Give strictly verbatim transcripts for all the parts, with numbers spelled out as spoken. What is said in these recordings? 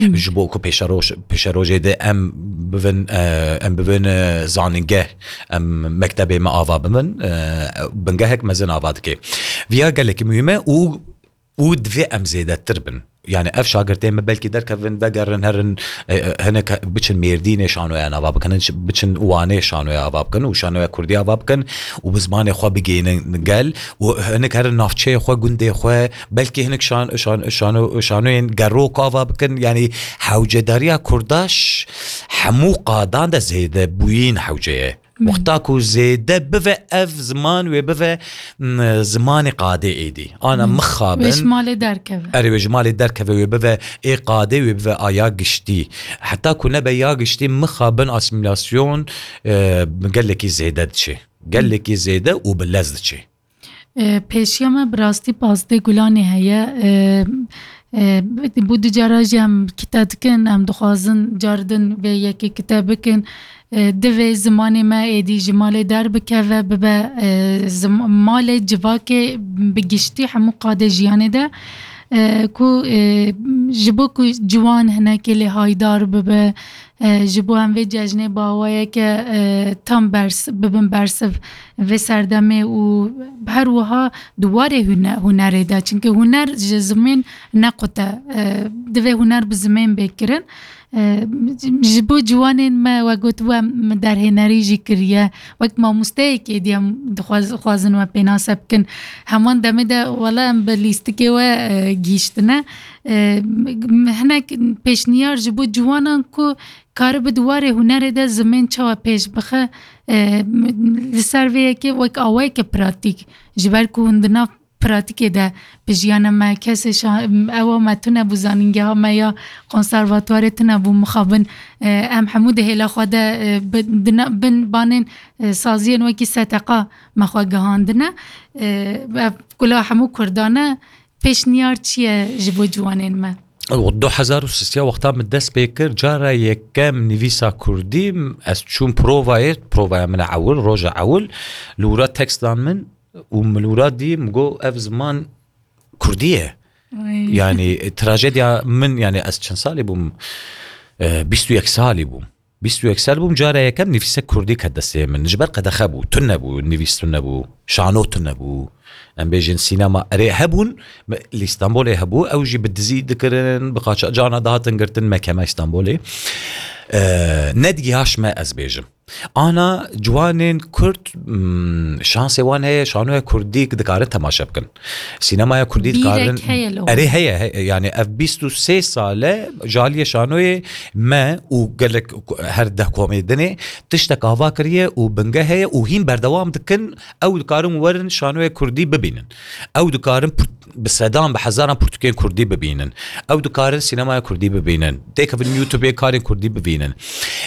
Ji bo ku pêşeroj, pêşerojê de em bivin, e, em bivin, e, zanîngeh, em mektebê me ava bibin, e, bingehek mezin ava dike. Viya gelekî muhîm e û, û divê em zêdetir bin. Yani ev şagirtê me belkî derkevin, vegerin, herin, e, e, hinek biçin Mêrdînê şanoya nava bikin, hinek biçin Wanê şanoya ava bikin û şanoya Kurdî ava bikin û bi zimanê xwe bigihînin gel û hinek herin navçeyê xwe, gundê xwe, belkî hinek şan-, şan-, şano-, şanoyên gerok ava bikin. Yani hewcedariya Kurda ji hemû qadan de zêde bûyîn hewce ye. Wexta ku zêde bive ev ziman wê bive, m, zimanê qadê êdî. Ana mixabin. Wê ji malê derkeve. Erê, wê ji malê derkeve, wê bive ê qadê, wê bive a ya giştî. Heta ku nebe ya giştî, mixabin asîmîlasyon, e, gelekî zêde diçe. Gelekî zêde û bi lez diçe. E, pêşiya me bi rastî pazdeh Gulanê heye. E, e, bû du cara jî em kite dikin, em dixwazin car din vê yekê kite bikin. E, divê zimanê me êdî ji malê derbikeve, bibe, e, zim-, malê civakê bi giştî hemû qadê jiyanê de, e, ku, e, ji bo ku ciwan hinekê lê haydar bibe, e, ji bo em vê cejnê bi awayeke, e, tam bers-, bibin bersiv vê serdemê û her wiha di warê hune-, hunerê de. Çimkî huner ji zimên nequte, e, divê huner bi zimên bê kirin. E, ji bo ciwanên me, we gotibû, em derhênerî jî kiriye. Wek mamosteyekê diyem dixwaz-, xwazin we pênase bikin. Heman demê de wela em bi lîstikê we, e, gihîştine. E, hinek pêşniyar ji bo ciwanan ku karibe di warê hunerê de zimên çawa pêş bixe, e, li ser vê yekê wek awayeke pratîk, ji ber ku hûn di nav pratîkê de bi jiyana me, kesê şa-, ewa me tune bû, zanîngeha me ya konservatuwarê tune bû, mixabin, e, em hemû di hêla xwe de, e, bi, di na-, bin banên, e, saziyên wekî seteqa me xwe gihandine. E, ev kula hemû Kurdan e. Pêşniyar çi ye ji bo ciwanên me? Du hezar û sêzdeh wexta min dest pê kir, cara yekem nivîsa kurdî, ez çûm provayê, provaya min e ewil, roja ewil, li wira tekst dan min û min li wira dî, min got, ev ziman kurdî ye. Ay. Yani, e, trajediya min, yani, ez çend salî bûm? E, bîst û yek salî bûm. Bîst û yek sal bûm, cara yekem nivîsek kurdî ket destê min. Ji ber qedexe bû, tune bû, nivîs tune bû, şano tune bû. Em bêjin sînema, erê, hebûn, me, li Stenbolê hebû, ew jî bi dizî dikirin, bi qaça-, cana dihatin girtin mekeme Stenbolê. E, nedigihaş me, ez bêjim. Ana ciwanên Kurd, mm, şansê wan heye, şanoya Kurdî dikarin temaşe bikin. Sînemaya Kurdî dikarin. Bîrek heye li hûn? Erê, heye, heye. Yani ev bîst û sê sale ji aliyê şanoyê me û gelek her deh komê dinê tiştek ava kiriye û bingeh heye û hîn berdewam dikin. Ew dikarin werin şanoya Kurdî bibînin. Ew dikarin pir-, bi sedan, bi hezaran pirtûkên Kurdî bibînin. Ew dikarin sînemaya Kurdî bibînin. Têkevin YouTubeê karên Kurdî bibînin.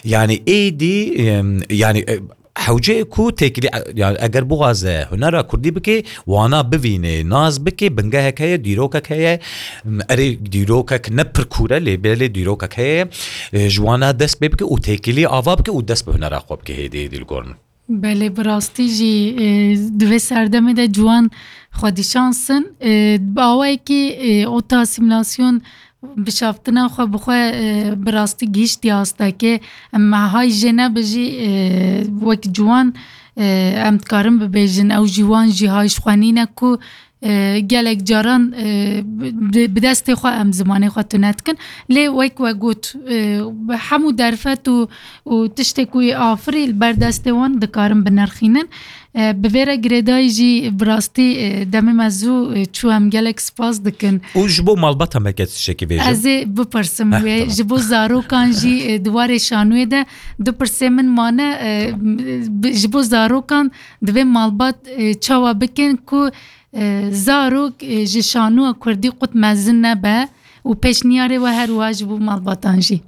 Yani êdî, em, yani, e, hewce ku têkilî, e, yani eger bixwaze hunera Kurdî bike, wana bivîne, nas bike, bingehek heye, dîrokek heye. Em, erê dîrokek ne pir kûr e, lê belê dîrokek heye. E, ji wana dest pê bike û têkilî ava bike û dest bi hunera xwe bike hêdî, hêdî li gor min. Belê, bi rastî jî, e, di vê serdemê de ciwan xwedîşans in. E, bi awayekî, e, ota asîmîlasyon bişaftina xwe bi xwe, e, bi rastî gihîştiye astekê. Em hay jê nebe jî, e, wek ciwan, e, em dikarin bibêjin, ew jî wan jî hay ji xwe nîne ku, e, gelek caran, e, bi, bi destê xwe em zimanê xwe tune dikin. Lê wek we got, e, hemû derfet û, û tiştê ku yê afirî li ber destê wan dikarin binirxînin. E, bi vê re girêdayî jî bi rastî, e, demê me zû, e, çû, em gelek spas dikin. Û ji bo malbata me ke tiştekî bêjim? Ez ê bipirsim wê. Heh, tamam. Ji bo zarokan jî, e, di warê şanoyê de du pirsê min mane, e, bi, ji bo zarokan divê malbat, e, çawa bikin ku, e, zarok, e, ji şanoya kurdî qut mezin nebe û pêşniyarê we her wiha ji bo malbatan jî.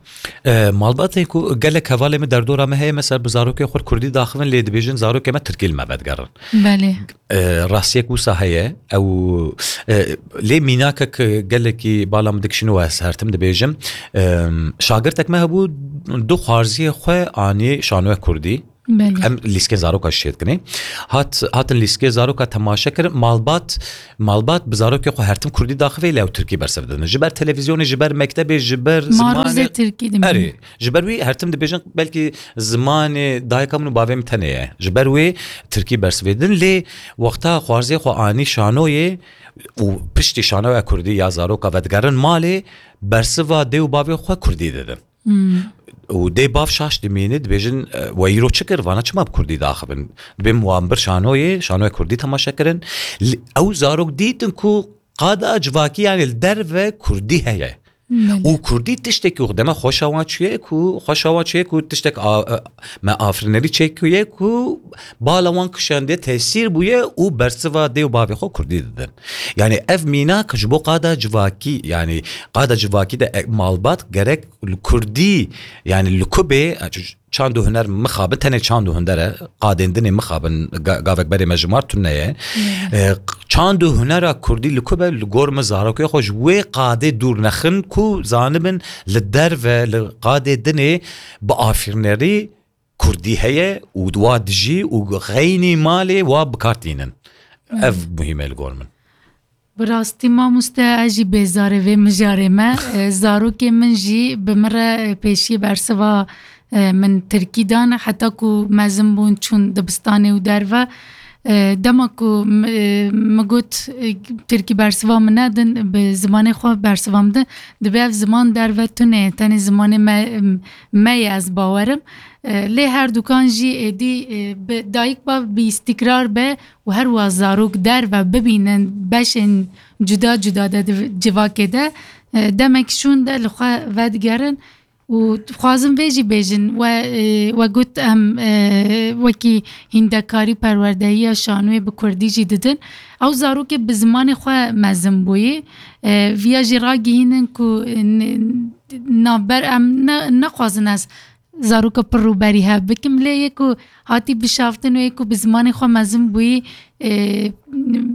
E, malbatên ku gelek hevalê min derdora me heye, mesela bi zarokê xwe kurdî daxivin, lê dibêjin zarokê me tirkî li me vedigerin. Belê. E, rastiyek wisa heye, ew, e, lê mînakek gelekî bala min dikişîn û ez her tim dibêjim. E, şagirtek me hebû, du xwarziyê xwe anî şanoya kurdî. Belê. Em lîskên zaroka şêt kinê. Hat, hatin lîskê zaroka temaşe kirin. Malbat, malbat bi zarokê xwe hertim kurdî daxivê lê ew tirkî bersiv didin. Ji ber televîzyonê, ji ber mektebê, ji ber Marûzê zimanê tirkî dimînin. Erê, ji ber wî hertim dibêjin belkî zimanê dayika min û bavê min tenê ye. Ji ber wê tirkî bersivê didin. Lê wexta xwarzê xwe anî şanoyê û piştî şanoya kurdî ya zaroka vedigerin malê, bersiva dê û bavê xwe kurdî didin. Hmm. Û dê bav şaş dimîne, dibêjin, "E, we îro çi kir? Vana çima bi kurdî daxivin?" Dibêm wan bir şanoyê, şanoya kurdî temaşe kirin. Li, ew zarok dîtin ku qada civakî, yani li derve kurdî heye. Belê. Û kurdî tiştekî xwe deme xweşa wan çûye ku, xweşa wan çûye ku tiştek a, e, me afirinerî çêkiriye ku bala wan kişandiye, tesîr bûye û bersiva dê û bavê xwe kurdî didin. Yani ev mînak ji bo qada civakî, yani qada civakî de e, malbat gerek li kurdî, yani li ku bê, e, ç-, çand û huner mixabin, tenê çand û hunder e, qadên dinê mixabin, ga-, gavek berê me jimar tune ye. Hmm. E, q-, çand û hunera kurdî li ku be, li gor min zarokê xwe ji wê qadê dûr nexin ku zanibin li derve, li qadê dinê bi afirnerî kurdî heye û wa dijî û xeynî malê wa bi kar tînin. Hmm. Ev muhîm e li gor min. Bi rastî mamoste, ez jî bêzarê vê mijarê me. E, zarokê min jî bi min re, e, pêşiyê bersiva, e, min tirkî dan, heta ku mezin bûn çûn dibistanê û derve. E, dema ku m-, e, min got, e, tirkî bersiva min nedin, bi zimanê xwe bersiva min din, dibê ev ziman derve tune ye, tenê zimanê me, me ye, ez bawerim. E, lê her dukan jî êdî, e, bi dayik bav bi îstîkrar be û her wiha zarok derve bibînin beşên cuda cuda de di civakê de, e, demek şûn de li xwe vedigerin û dixwazin vê jî bêjin, we, e, we got em, e, wekî hîndekarî perwerdehiya şanoyê bi kurdî jî didin. Ew zarokê bi zimanê xwe mezin bûyî, e, viya jî ragihînin ku, e, n-, navber em ne, nexwazin ez zaroka pir rûberî hev bikim, lê yê ku hatî bişaftin û yê ku bi zimanê xwe mezin bûyî, e,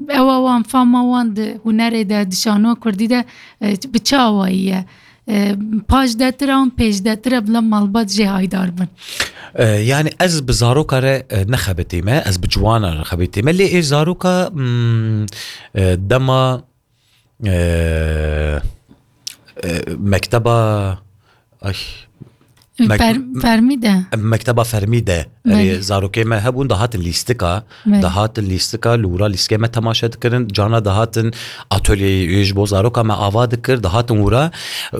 ewa wan, fama wan di hunerê de, di şanoya kurdî de, e, bi çi awayî ye? E, paşdetir an pêşdetir e, bila malbat jê haydar bin. E, yani ez bi zaroka re, e, nexebitîme, ez bi ciwana re xebitîme, lê ê zaroka, mm, e, dema e, e, mekteba, ay, mek-, Fer-, fermî de. Mekteba fermî de. Belê. Erê, zarokê me hebûn, dihatin lîstika, Belê. dihatin lîstika, li wira lîskê me temaşe dikirin, cana dihatin atölyeyê ji bo zaroka me ava dikir, dihatin wira.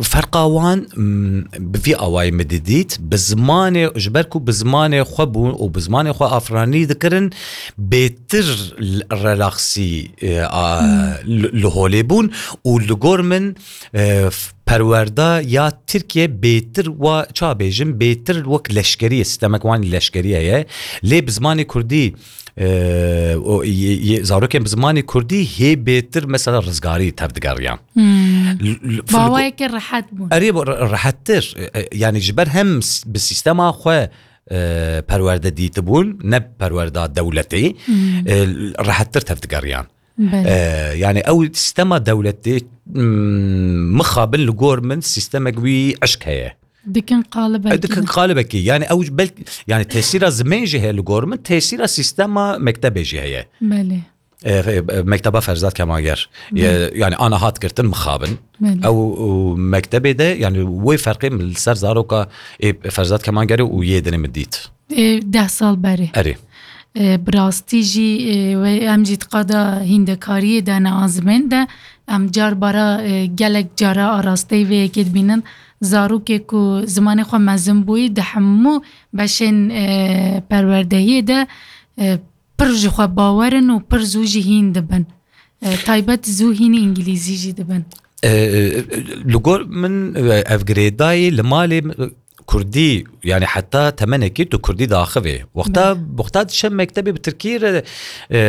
Ferqa wan, m, bi vî awayî min didît, bi zimanê, ji ber ku bi zimanê xwe bûn û bi zimanê xwe afiranî dikirin, bêtir l-, relaxsî, e, a, Hmm. li, li holê bûn û li gor min, e, f-, perwerda ya Tirkiye bêtir wa, ça bêjim, bêtir wek leşkerî ye, sistemek wan leşkerî heye. Lê bi zimanê kurdî, e, o, yê, yê, zarokên bi zimanê kurdî hê bêtir mesela rizgarî tevdigeriyan. Hmm. L-, l-, Bi awayekî rehet bûn. Erê, bu re-, rehettir. E, e, yani ji ber hem s-, bi sîstema xwe e, perwerde dîtibûn, ne perwerda dewletê, Hmm. e, rehettir tevdigeriyan. Belê. E, yani ew sîstema dewletê, mm, mixabin li gor min sîstemek wî eşk heye. Dikin qalibekî. E, dikin qalibekî. Yani ew belk-, yani tesîra zimên jî heye li gor min, tesîra sîstema mektebê jî heye. Belê. E, e, mekteba Ferzad Kemanger. Belê. E, yani ana hat girtin mixabin. Belê. Ew, û mektebê de, yani wê ferqê min li ser zaroka, e, Ferzad Kemanger û yê dinê min dît. E, deh sal berê. Erê. E, bi rastî jî, e, we em jî di qada hîndekariyê de ne, a zimên de, em car bara, e, gelek cara arasteyî vê yekê dibînin. Zarokê ku zimanê xwe mezin bûyî di hemû beşên, e, perwerdehiyê de, e, pir ji xwe bawer in û pir zû jî hîn dibin. E, taybet zû hînî îngilîzî jî dibin. E, e, li gor min, e, ev girêdayî li malê, e, kurdî, yani heta temenekî tu kurdî daxivê. Wexta, Belê. wexta diçe mektebê bi tirkî re, e,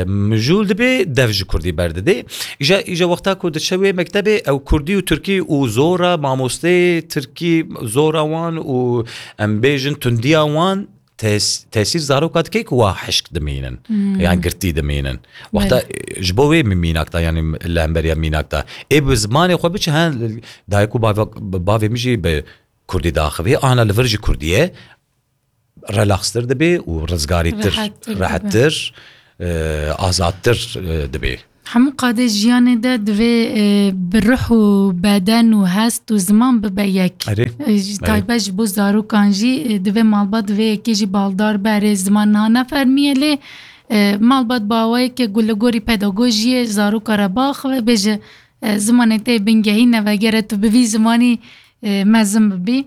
mijûl dibê, dev ji kurdî berdidê. Îja, îja wexta ku diçe wê mektebê, ew kurdî û tirkî û zora mamosteyê tirkî, zora wan û em bêjin tundiya wan, tes-, tesîr zaroka dike ku wa hişk dimînin, Hmm. yan girtî dimînin. Wexta, Belê. e, ji bo wê min mînak da, yani li hemberiya mînak da. Ê bi zimanê xwe biçe, hen, dayik û bava-, bavê min jî bi kurdî daxivê, ana li vir jî kurdî ye. relaxtir dibe û rizgarîtir, Rehettir dibe. rehettir, e, azadtir, e, dibe. Hemû qadê jiyanê de divê, e, bi ruh û beden û hest û ziman bibe yek. Erê, E, ji erê. taybet ji bo zarokan jî, e, divê malbat divê yekê jî baldar be, erê ziman niha nefermiye lê, e, malbat bi awayeke ku li gorî pedagojiyê zaroka re biaxive, bêje, e, zimanê te yê bingehîn e, vegere tu bi vî zimanî, e, mezin bibî.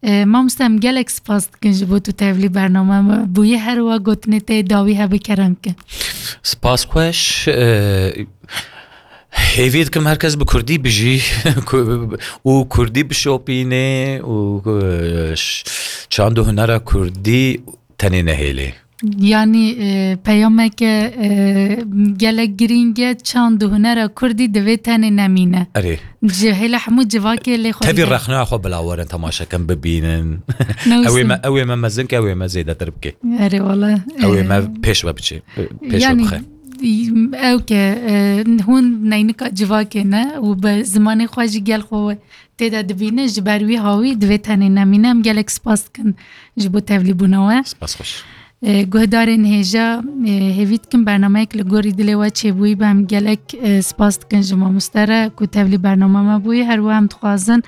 E, mamoste, em gelek spas dikin ji bo tu tevlî bername me bûyî, her wa gotinê te yê dawî hebe kerem ke. Spas xweş. E, hêvî dikim her kes bi kurdî bijî ku-, û kurdî bişopîne û, e, ş-, çand û hunera kurdî tenê nehêlê. Yanî, e, peyameke, e, gelek girîng e, çand û hunera kurdî divê tenê nemîne. Erê. Ji hêla hemû civakê lê xwe Tevî bide. rexneya xwe bila werin temaşe kin, bibînin. Ne Ew ê wisa. me, ew ê me mezin ke, ew ê me zêdetir bike. Erê wala, Ew ê e, me pêş ve biçe. Pêş ve yanî, bixe. ew ke, e, hûn neynika civakê ne û bi zimanê xwe jî gel xwe tê de dibîne, ji ber wî hawî divê tenê nemîne. Em gelek spas dikin ji bo tevlîbûna we. Spas xweş. E, guhdarên hêja, e, hêvî dikim bernameyek li gorî dilê we çêbûyî be. Em gelek, e, spas dikin ji mamoste re ku tevlî bername me bûyî. Her wiha em dixwazin,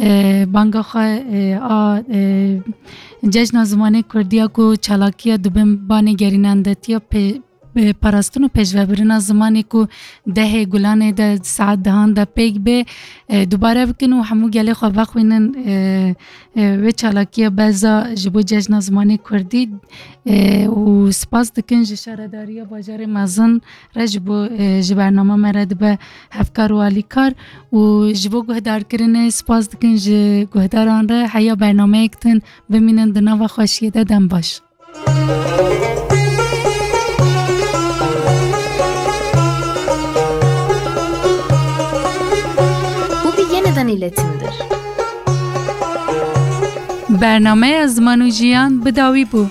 e, banga xwe, e, a, e, Cejna Zimanê Kurdiya ku çalakiya dibin banê gerînendetiya pê-, e, parastin û pêşvebirina zimanê ku dehê Gulanê de saet dehan de pêk bê, e, dubare bikin û hemû gelê xwe vexwînin, e, e, wê çalakiya berza ji bo Cejna Zimanê Kurdî, e, û spas dikin ji Şaredariya Bajarê Mezin re ji bo, e, ji bernama me re dibe hevkar û alîkar û ji bo guhdarkirinê spas dikin ji guhdaran re. Heya bernameyek din bimînin di nava xweşiyê de, dem baş. Bu bir yeniden iletimdir. Bernameya Ziman û Jiyan bi dawî bû.